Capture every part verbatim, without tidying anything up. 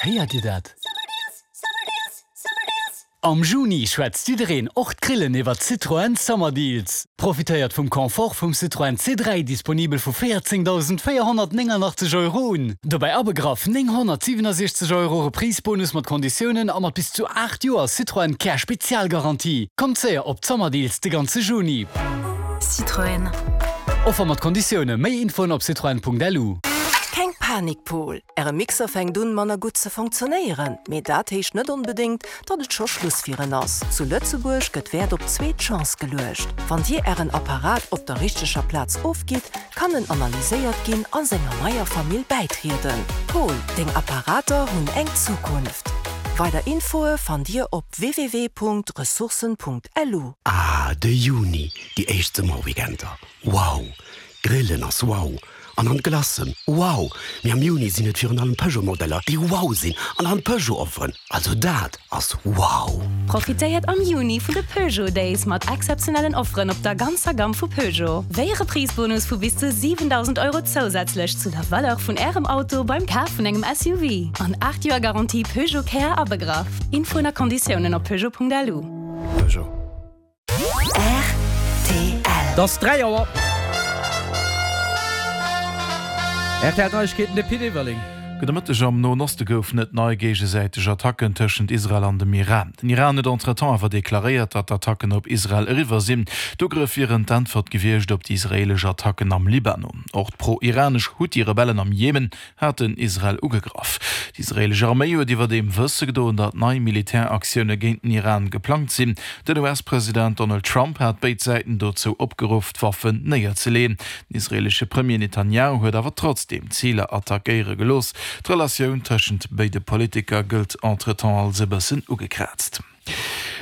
Héiert Dir dat? Am Juni schwätzt jiddereen, och d'Grillen, iwwer Citroën Summer Deals. Profitéiert vum Confort vum Citroën C dräi, disponibel vu véierzéngdausend véierhonnertnénganachteg Euro un. Dobäi abegraff nénghonnertsiwenasechzeg Euro Reprise-Bonus mat Konditiounen a mat bis zu aacht Joer Citroën Care Spezialgarantie. Kommt séier op d'Summer Deals de ganze Juni. Citroën. Offer mat Konditioune, méi Infoen op citroen.lu. Keng Panik Paul, Äre Mixer fänkt un manner gutt ze funktionéieren, mee dat heescht net onbedéngt, datt et scho Schluss fir en ass. Zu Lëtzebuerg gëtt Wäert op zweet Chance geluecht. Wann Dir Ären Apparat op der richteger Plaz ofgitt, kann en analyséiert ginn a senger neier Famill bäitrieden. Paul, deng Apparater hunn eng Zukunft. Weider Infoe fannt Dir op www.ressourcen.lu. Ah, de Juni, déi éischt Summerweekender. Wow! Grillen ass wow! An an d'Glacen, wow! Mee am Juni sinn et virun allem Peugeot-Modeller, déi wow sinn an an Peugeot-Offeren. Also dat ass wow! Profitéiert am Juni vun de Peugeot Days mat exzeptionellen Offeren op der ganzer Gamm vu Peugeot. Wéi e Reprise-Bonus vu bis zu siwendausend Euro zousätzlech zu der Valeur vun Ärem Auto beim Kaf vun engem S U V. An aacht Joer Garantie Peugeot Care abegraff. Infoen a Konditiounen op peugeot Punkt L U. Peugeot. R T L. Et ass dräi Auer. R T L Neiegkeeten, de Pit Everling. Gudde Mëtteg. Am Noen Oste goufen et nei géigesäiteg Attacken tëschent Israel an dem Iran. Den Iran huet entretemps awer deklaréiert, datt d'Attacken op Israel eriwwer sinn. D'Ugrëff wieren d'Äntwert gewiescht op déi israeelesch Attacken am Libanon. Och d'pro-iranesch Huthi-Rebellen am Jemen haten Israel ugegraff. D'israeelesch Arméi huet iwwerdeem wësse gedoen, datt nei Militäraktioune géint den Iran geplangt sinn. Den U S-President Donald Trump hat béid Säiten dozou opgeruff, d'Waffen néierzeleeën. Den israeelesche Premier Netanjahu huet awer trotzdeem Ziler attackéiere gelooss. D'Relatioun tëschent béide Politiker gëllt entretemps als e bëssen ugekraazt.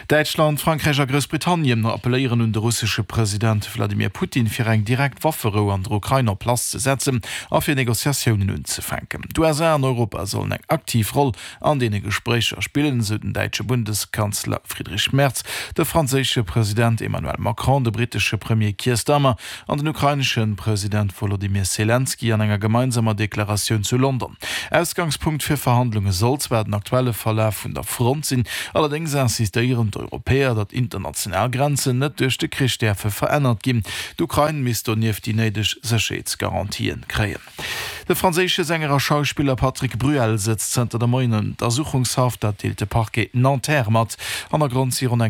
Däitschland, Frankräich a Groussbritannien appelléieren un de russesche President Wladimir Putin, fir eng direkt Wafferou an der Ukrain en place ze setzen a fir Negociatiounen unzefänken. D'U S A an Europa sollen eng aktiv Roll an deene Gespréicher spillen, sou den däitsche Bundeskanzler Friedrich Merz, de franséische President Emmanuel Macron, de brittesche Premier Keir Starmer an den ukrainesche President Wolodymyr Selenskyj an enger gemeinsamer Deklaratioun zu London. Ausgangspunkt fir Verhandlunge soll zwar den aktuelle Verlaf vun der Front sinn, allerdéngs insistéieren d'Europäer, datt international Grenzen net duerch de Krich däerfe verännert ginn. D'Ukrain misst donieft déi néideg Sécherheetsgarantien kréien. De franséische Sänger a Schauspiller Patrick Bruel sëtzt zënter de Moien an Untersuchungshaft, dat deelt de Parquet Nanterre mat. Hannergrond si ronn eng